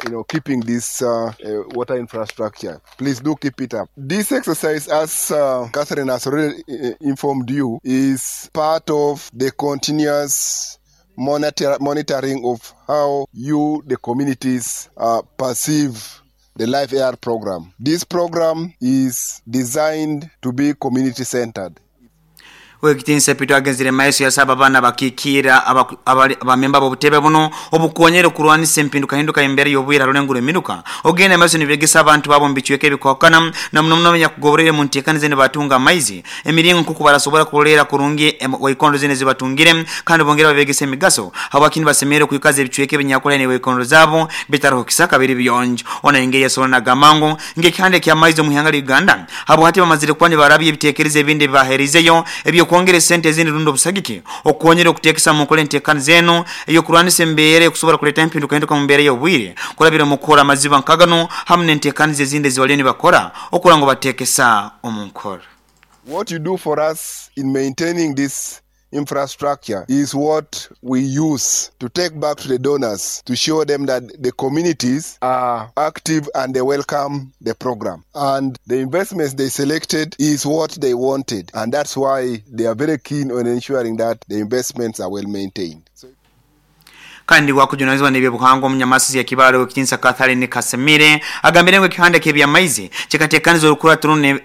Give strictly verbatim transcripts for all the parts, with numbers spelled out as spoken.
you know, keeping this uh, uh, water infrastructure. Please do keep it up. This exercise, as uh, Catherine has already uh, informed you, is part of the continuous monitor, monitoring of how you, the communities, uh, perceive the Life A R program. This program is designed to be community-centered. Wekitinsa pito agenzire maiso ya saba bana bakikira abamemba b'obutebe buno obukonyere kurwanisa empinduka hinduka embere y'obwira rulenguro emiruka ogenda maiso nibegesa abantu babo mbichweke ebikokana na muno muno nyakugoborere mu ntekanize ne batunga amaizi emiringo nkuku barasobora kulera kurungi waikondo zine zibatungire kandi bongera babegesa emigaso habakini basemere kuikaza ebichweke binyakola ne waikondo zabo bitaro kisaka biri biyonjo ona engeri yasobola nagamango ngekihande kya maizi mu ihanga Uganda habo hati bamazire kwani barabye ebitekerezo ebindi baherizeyo ebyo kwongere sente zindi rundo busagiki okonyere okutekesa mu nkole ntekani zeno eyo kurwanisa embere kusobora kuleta empinduka hinduka mu mbere y'obwire kurabira mu kukora amaziba nkagano hamwe n'entekani zezindi ziwaleni bakora okura ngo batekesa omu nkora. What you do for us in maintaining this infrastructure is what we use to take back to the donors to show them that the communities are active and they welcome the program. And the investments they selected is what they wanted, and that's why they are very keen on ensuring that the investments are well maintained. So kandi wakujunazwa n'ebyo buhango munyamasi ya kibalo wekitinsa Catherine Kasemire agambire ngo ekihanda kebya maizi kikatekaniza olukura tunu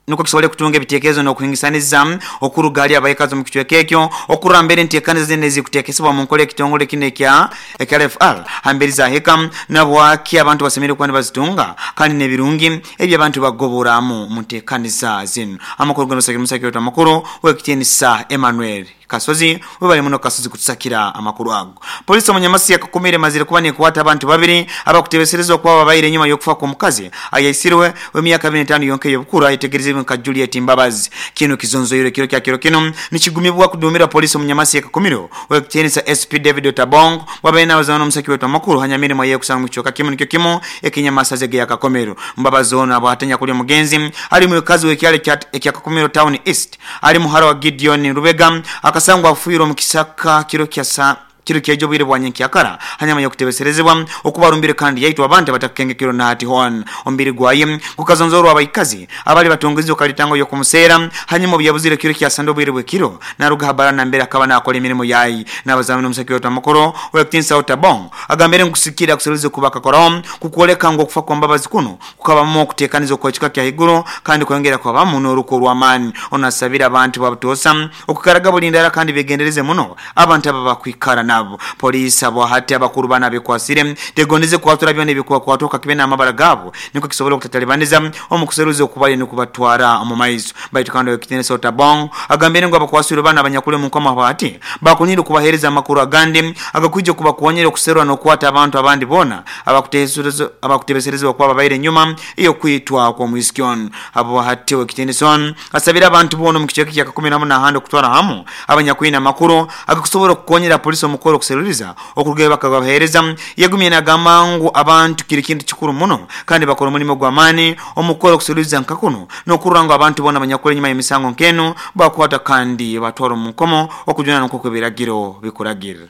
nuko kisobole kutunga ebitekerezo n'okuhingisaniza okurugali abayikazi mu kichweka ekyo okurambere ntekaniza zine zikutekesebwa mu nkole ekitongole kino ekya L F R hamberi za heka nabwaki abantu basemere kwani bazitunga kandi n'ebirungi ebyo abantu bagoboramu mu ntekaniza zino. Amakuru gano sakira musakira amakuru wekitinsa Emmanuel Kasozi webali muno Kasozi kutusakira amakuru ago. Polisi omunyamasi yakakumire mazire kuba nekuwata abantu babiri abakutebeserezwa kuba babaire nyuma y'okufa kw'omukazi ayaisirwe w'emyaka abiri n'etaano yonka ey'obukuru ayetegerezibwe nka Juliet Mbabazi. Kino kizonzoire kiro kya kiro kino nikigumibwa kudumira polisi omunyamasi yakakumiro wekitenisa S P David Otabong wabaye n'abazana omusaki wetu amakuru hanyamirimo yekusanga mu kicoka kimu nikyo kimu ekinyamasa zege yakakomero. Mbabazi ono abwatenya kuli omugenzi ali mukazi w'ekyalo ekya Kakumiro Town East ali muhara wa Gideon Rubega akasangwa afuire omu kisaka kiro kya sa kiro kyejo bwire bwa nyenkyakara hanyama yokutebeserezebwa okubarumbire kandi yaitwa abantu batakenge kiro na hati hon ombiri gwaye kukazonzorwa abayikazi abali batongezi okalitango yokumusera hanyuma byabuzire kiro kya sando bwire bwekiro naruga habara na mbere akaba nakola emirimo yayi nabazamino omusaki wetu amakuru wekitinsa Otabong agambere nkusikira kuseruze kubaka korom kukoleka ngo kufa kwa Mbabazi kuno kukabamo okutekaniza okwekika kya higuru kandi kwongera kwabamu n'oruko rw'amaani. Onasabira abantu babutosa okukaraga bulindara kandi begendereze muno abantu aba bakwikara nabo. Polisi abo hati abakuru bana bekwasire tegondeze kwatura byone bikuwa kwatoka kibe amabara gabo niko kisobola okutatalibaniza omukuseruze okubali nukubatwara mu maizo. Baitu kandi ekitenesa Otabong agambire ngo abakwasire bana abanyakule mu nkoma hati bakunire kubahereza amakuru agandi agakwije kubakonyera okuserwa n'okwata abantu abandi bona abakutesereza abakutebesereza kwa babaire nyuma iyo kwitwa kwa mwiskion. Abo hati ekitenesa asabira abantu bono mu kicheke kya kumi na munana kutwara hamu abanyakwina amakuru agakusobola okukonyera polisi omukoro okuseruriza okurugayo bakabahereza yegumye nagamba ngu abantu kiri kintu kikuru muno kandi bakora omulimo gw'amaani omukoro okuseruriza nkakuno n'okurora ngu abantu bona abanyakule nyuma y'emisango nkeno bakwata kandi batwara omu nkomo okujuna n'okuko ebiragiro bikuragira.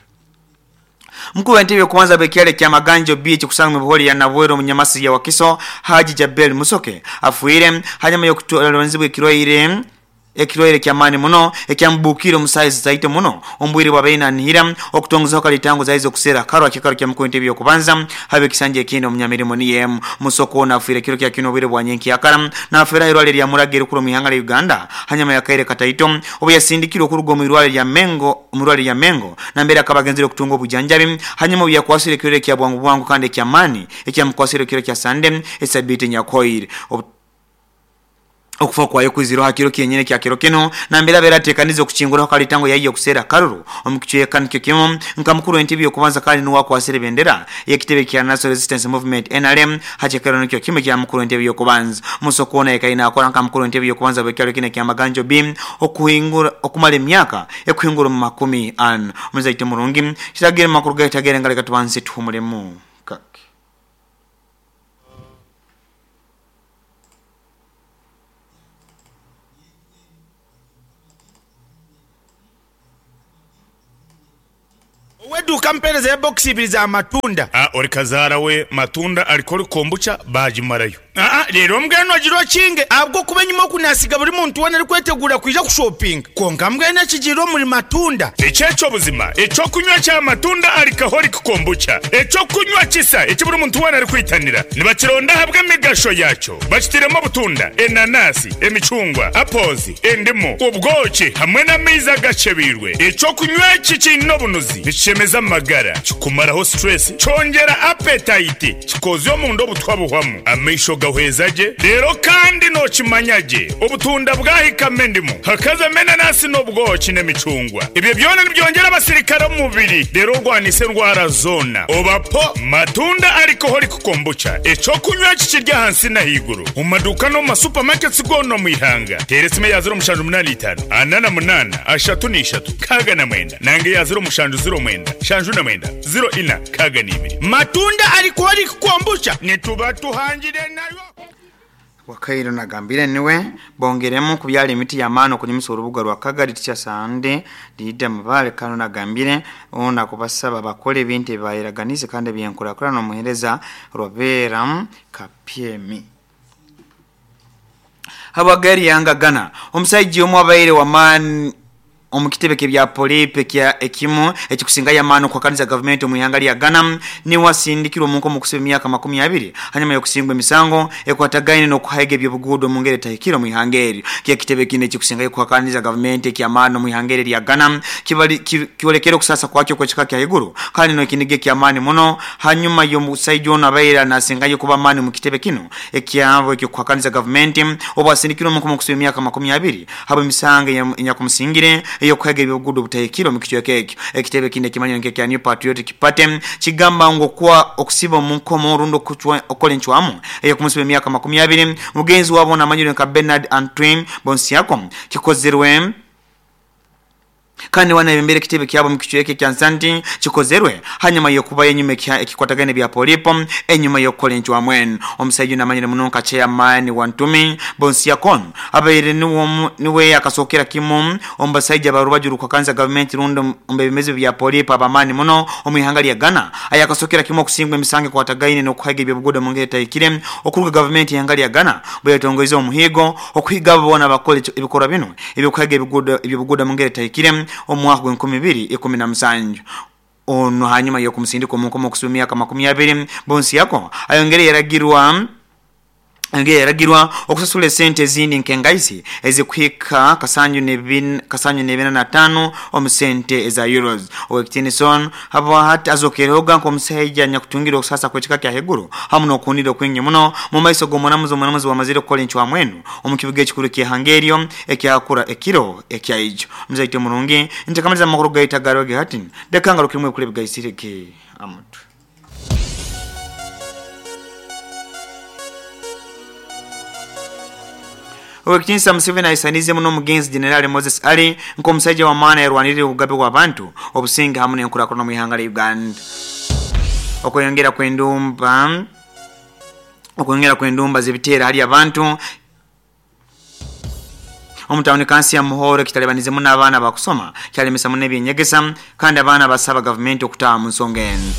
Mkuu wa ntebe kuanza bekyale kya Maganjo Beach kusanga mibihori ya Nabwero munyamasi ya Wakiso Haji Jabel Musoke afuire hanyuma y'okutolonzibwa ekirwaire ekirwaire kya mani muno ekyambukiro musaizi zaito muno ombwire bwabaina nihira okutongoza kalitango zaizo kusera karwa kikaro kya mkuu ntebe yokubanza habe kisanje ekindi omunyamirimo niye Musoko na afuire kiro kya kino bwire bwa nyenki yakara na afera irwale lya muragiro kulo mihanga la Uganda hanyuma yakaire kataito obu yasindikirwe okuruga mu irwale lya Mengo mu irwale lya Mengo na mbere akabagenzire okutunga obujanjabi hanyuma byakwasire kiro kya bwangu bwangu kandi ekya mani ekyamkwasire kiro kya Sande esabiti nyakoire okufa kwayo kwiziro hakiro kyenyene kya kiro kino na mbere beratekaniza okuchingura kalitango yayiyo kusera karuru omukichweka nikyo kimu nka mukuru w'entebe yokubanza kandi nuwa kwasire bendera yekitebe kya National Resistance Movement N R M hachekero nikyo kimu kya mukuru w'entebe yokubanza Musokona ekaina akora nka mukuru w'entebe yokubanza bwekyalo kine kya Maganjo B okuhingura okumala emyaka ekuhingura mu makumi ana muzaite murungi kiragire makuru gaitagere ngaleka tubanze tuhumulemu kake. Weduka mpereza ya box ibiri za matunda. Ah, ori kazara we matunda alikori kombucha bajimarayo. Ah, rero mbweno giro kinge abwo kuba nyuma kunasiga buri muntu wona ari kwetegura kwija kushopping. Konka mbwene kigiro muri matunda. Echecho buzima, echo kunywa cha matunda alcoholic kombucha. Echo kunywa kisa eki buri muntu wona ari kwitanira. Nibakironda habwe migasho yacho. Bakitiremo butunda, enanasi, emicungwa, apples, endimu, ubwoki hamwe n'amaizi agacebirwe. Echo kunywa iki kino bunuzi bishemeza amagara, kikumaraho stress, cyongera appetite, kikozyo mu ndo butwabuhwamu. Amaisho gahwezaje rero kandi no kimanyaje ubutunda bwahikame ndimu hakaza menanasi n'ubwoki n'emicungwa. Ibyo byona nibyongera abasirikare mu mubiri rero rwanise ndwara zona. Obapo matunda alcoholic kombucha echo kunywa kikirya hansi na higuru mu maduka no mu supermarkets gono mu ihanga. Teresime ya zero mushanju munani itanu anana munana ashatu n'ishatu kaga na mwenda nange ya zero mushanju zero mwenda shanju na mwenda zero ina kaga n'ibiri. Matunda alcoholic kombucha nituba tuhangire nayo. Wakairo nagambire niwe bongeremu kubyala emiti y'amaani okunyumisa orubuga rwa Kagari tikya Sande Dida Mubale kano nagambire ona kubasaba bakole ebintu ebibayiraganize kandi ebyenkurakurana n'omuheereza Robera Kapyemi. Habagari yanga Ghana omusajja omu abaire wamaani omukitebe kebya polipe kya ekimu ekikusinga yamano kwa kanisa government omuyanga lya Ghana ni wasindikirwa omunko mu kusiba emyaka makumi abiri hanyuma yokusingwa emisango ekwatagaine n'okuhaiga ebyobuguudo mu ngeri etahikire mu ihanga eryo. Kya kitebe kine ekikusinga kwa kanisa government ekyamaano mu ihanga lya Ghana kibali kiolekera okusasa kwakyo kwekika kya iguru kandi n'ekinige kyamaani muno hanyuma y'omusajja ono abaire nasingayo kuba maani mu kitebe kino ekyabo ekyo kwa kanisa government obwasindikirwa omunko mu kusiba emyaka makumi abiri habo emisango enyakumusingire yokwega ebyobuguudo butahikire mu kichweka ekyo. Ekitebe kine kimanyo nke kya New Patriotic Party kigamba ngo kwa okusiba omunkomo orundo okukola enchwamu eyo kumusiba emyaka makumi abiri mugenzi wabo namanyire nka Bernard Antoine Bonsiako kikozerwe kandi wana embere kitebe kyabo mu kichweka kya Nsanti kikozerwe hanyuma yokuba enyuma ekikwatagane bya polipo enyuma yokukola enchwamu eno. Omusajja namanyire muno nka chairman wa Ntumi Bonsiakon abaire niwo niwe akasokera kimu ombasajja barubajuru kwa kanza government rundo ombebemeze bya polipo abamani muno omwihanga lya Ghana ayakasokera kimu okusingwa emisango kwatagaine n'okuhaga ebyobuguudo mu ngeri etahikire okuruga government ihanga lya Ghana bwetongoize omuhigo okuhiga bona bakole ebikorwa bino ebyokuhaga ebyobuguudo ebyobuguudo mu ngeri etahikire omwaka gw'enkumi ibiri ikumi na musanju. Ono hanyuma yokumusindika omunkomo okusiba emyaka makumi abiri Bonsiako ayongere yaragirwa Angeye yaragirwa okusasula esente ezindi nkengaisi ezikuhika kasanyu nebin kasanyu nebina na tano omusente eza euros. Owekitinison habo hati azokerehoga nkomusajja nyakutungira okusasa kwekika kya heguru hamu n'okunira okwingi muno mu maiso g'omunamuzi omunamuzi wamazire okukola enchwamu eno omu kibuga ekikuru ky'ehangeryo ekyakura ekiro ekyaijo. Muzaite murungi ntekamaliza amakuru gaita garoge hati dekangaro kimwe kule bigaisireke amuntu. Owekitinisa Museveni aisanize muno omugenzi General Moses Ali nk'omusajja w'amaani ayarwanirire obugabe bw'abantu obusinge hamu n'enkurakurana mu ihanga lya Uganda. Okweyongera kw'endumba okweyongera kw'endumba z'ebiteera hali abantu omutawuni kansi ya Muhoro kitalebanize muno abaana bakusoma kyalemesa muno ebyenyegesa kandi abaana basaba gavumenti okutaaha mu nsonga eno.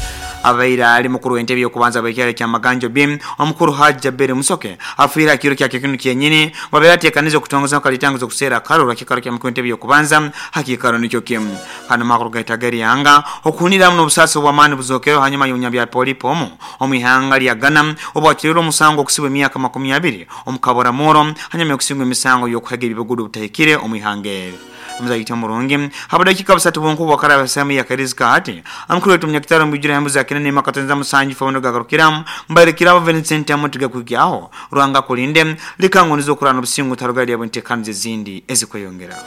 Abaira ali mukuru w'entebe y'okubanza bw'ekyalo kya Maganjo B omukuru Haji Jaberi Musoke afiire akiro kya kinu kyenyini wabeera ateekaniza okutongoza kalitanguza okuseera akalulu akikaro kya mukuru w'entebe y'okubanza hakikaro nikyo kimu. Hano makuru gaitageri yanga okuniramu n'obusaasi obw'amaani buzokeyo hanyuma y'omunyabya polipo omu omu ihanga lya Ghana obwakirira omusango okusibwa emyaka makumi abiri omukabora muro hanyuma y'okusingwa emisango y'okuhaga ebyobuguudo butahikire omu ihanga eryo. Muzayita murungi habadakika busatu bunku bwakaraba sami ya karizika hati amukuru wetu munyakitaro mbijira hembuza kinene makatenza musanji fawono gagarukiramu mbarekirabo Vincent amutiga kugyaho rwanga kulinde likango nizo kurana obusingu tarugali yabontekanize zindi ezikweyongera.